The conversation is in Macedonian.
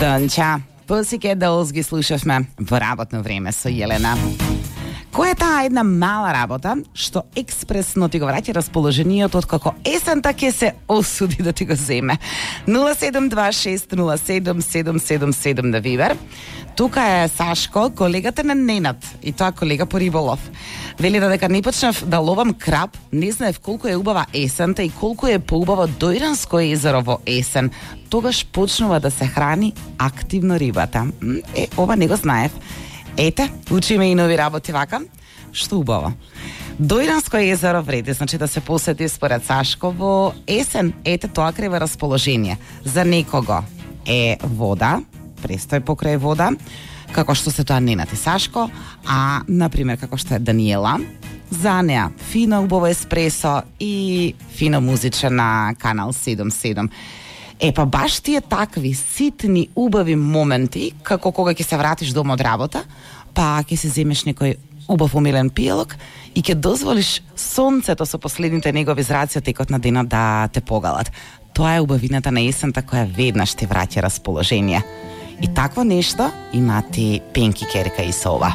Донча, Pussycat Dolls ги слушавме во работно време со Јелена. Која е таа една мала работа што експресно ти го враќа расположението од како есента ќе се осуди да ти го земе? 0726077777 на Вибер. Тука е Сашко, колегата на Ненад, и тоа колега по риболов. Вели да дека не почнав да ловам краб, не знаев колку е убава есента и колку е поубаво Дојранско езеро во есен. Тогаш почнува да се храни активно рибата. Ова не го знаев. Ете, учиме и нови работи вака. Што убаво. Дојранско езеро вреди, значи да се посети според Сашко во есен. Ете, тоа крева расположение. За некого е вода, престој покрај вода, како што се тоа Ненад и Сашко, а, например, како што е Даниела, за неа фино убаво еспресо и фино музиче на Канал 77. Па баш тие такви ситни, убави моменти, како кога ќе се вратиш дома од работа, па ќе се земеш некој убав умилен пијалок и ќе дозволиш сонцето со последните негови зраци од текот на денот да те погалат. Тоа е убавината на есента која веднаш ти враќа расположение. И такво нешто имаат и Пенки Керка и Сова.